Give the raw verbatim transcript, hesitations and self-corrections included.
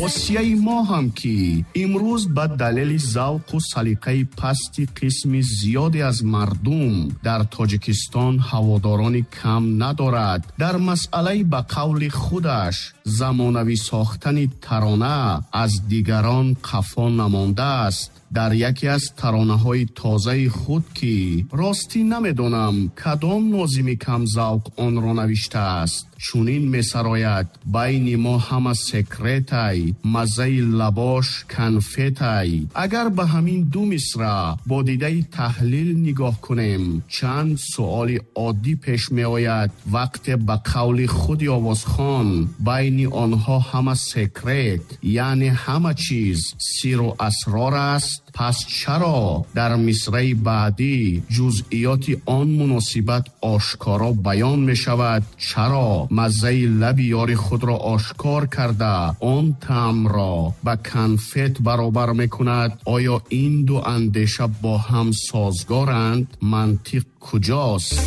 Осияи мо ҳам, ки имрӯз ба далели завқу салиқаи пасти қисми зиёде аз мардум дар Тоҷикистон ҳаводорони кам надорад, дар масъалаи ба қавли худаш замонавӣ сохтани тарона аз дигарон қафо намондааст. Дар яке аз таронаҳои тозаи худ, ки ростӣ намедонам кадом нозими камзавқ онро навиштааст, чунин месарояд: байни мо ҳама секретай, маззаи лабош конфетай. Агар ба ҳамин ду мисра бо дидаи таҳлил нигоҳ кунем, чанд суоли оддӣ пеш меояд. Вақте ба қавли худи овозхон байни онҳо ҳама секрет, яъне ҳама чиз сиру асрор аст, пас чаро дар мисраи баъдӣ ҷузъиёти он муносибат ошкоро баён мешавад? Чаро маззаи лаби ёри худро ошкор карда, он таъмро ба конфет баробар мекунад? Оё ин ду андеша бо ҳам созгоранд? Мантиқ куҷост?